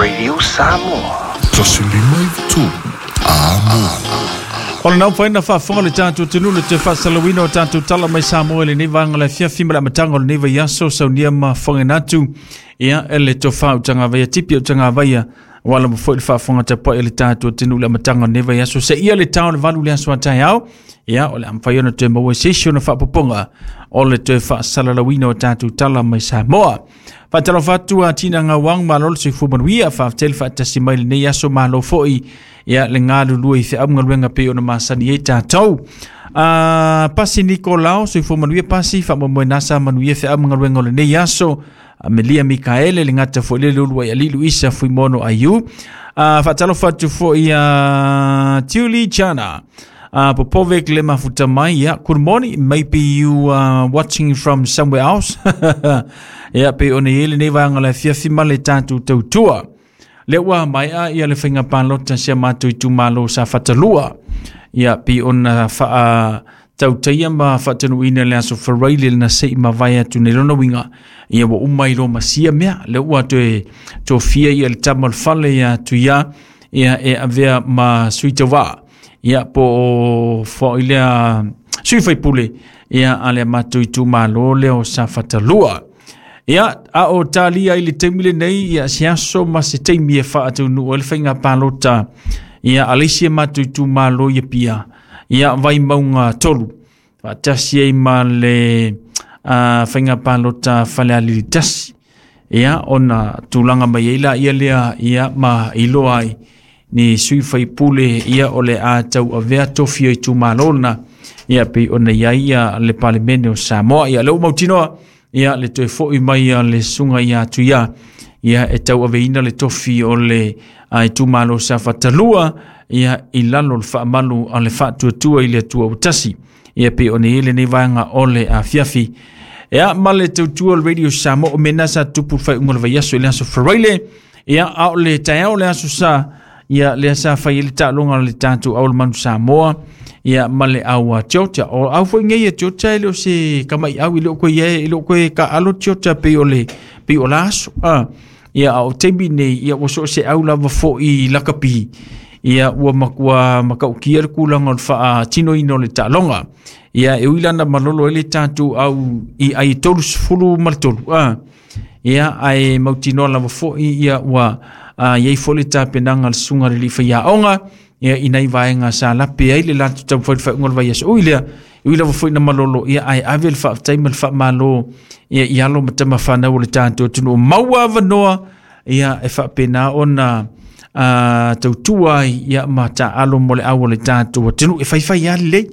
Radio Samoa. 153 Amo. O le naufaina faafofoga le tatou atunuu le toe faasalauina o tatou tala mai Samoa i lenei vaega o le afiafi ma le amataga o lenei vaiaso saunia ma fofogaina atu ia e le tofa utagavaia tipi utagavaia ua lava foi le faafofoga tapuai a le tatou atunuu i le amataga o lenei vaiaso seia le tao le 8 le aso a taeao. Ia o le a mafai ona toe maua se isi ona faapopoga o le toe faasalalauina o tatou tala mai Samoa. Faatalofa atu a Tina Gauang, malo le soifua manuia, faafetai le faatasi mai lenei aso, malo foi ia le galulue i feau ma galuega pei ona masani ai tatou. Pasi Nikolao, soifua manuia Pasi, faamoemoe nasa manuia feau ma galuega o lenei aso. Amelia Mikaele, le gata foi le lulu ai ali Luisa Fuimono Aiu. Faatalofa atu foi a Julie Chana. Popovic le mafuta mai, yeah. Good morning. Maybe you are watching from somewhere else. Yeah, pe ona i lenei vaega o le afiafi ma le tatou tautua. Le ua maea ia le faiga palota si a matou itumalo sa Fatalua. Ia, pe ona faa tautaia ma faatanuuina le aso Faraile na sei mavae atu nei lona uiga ia ua uma i loma sia mea le ua toe tofia ia le tama o le fale ia Tuia ia e avea ma sui tauvaa ia po o foi lea sui faipule ia a le matou itumalo lea o Safatalua. Ia, a o talia i le taimi lenei ia se aso ma se taimi e faataunuu ai le faiga palota ia a le isi e matou itumalo ia pia ia Vaimauga 3 faatasi ai ma le faiga palota Falealili 1 ia ona tulaga mai ai la ia lea ia ma iloa ai ni sui faipule ia o le a tau avea tofi o itumalo na ia pei ona i ai ia le Palemene o Samoa. Ia lea ua mautinoa ia le toe foi mai a le susuga ia Tuia ia e tau aveina le tofi o le itumalo sa Fatalua ia i lalo o le faamalu a le faatuatua i le Atua ua tasi ia pei ona i ai lenei vaega o le afiafi. Ia ma le tautua o le Radio Samoa o mena sa tupu le faaiuga o le vaiaso i le aso Faraile ia a o le taeao o le aso Sa ia lea sa fai ai le taaloga o le tatou au o le Manu Samoa ia ma le au a Georgia. O au foi nei a Georgia e le o se kamaiau i le o koe ia e le o koe kaalo Georgia pei o le pei o la aso. Ia a o taimi nei ia ua so o se au lava foi lakapi ia ua matua matautia le tulaga o le faatinoina o le taaloga. Ia e ui lana malolo ai le tatou au i ai 33. Ia ae mautinoa lava foi ia ua iai foi le tapenaga a le susuga i le alii faiaoga ia i nai vaega sa lape ai le latou taumafai i le faaiuga o le vaiaso. Ui lea, ui lava foi na malolo ia ae ave le faafetai ma le faamalo ia i alo ma tama fanau o le tatou atunuu maua avanoa ia e faapena ona tautua ai ia ma taaalo mo le au o le tatou atunuu e faifai lava lelei.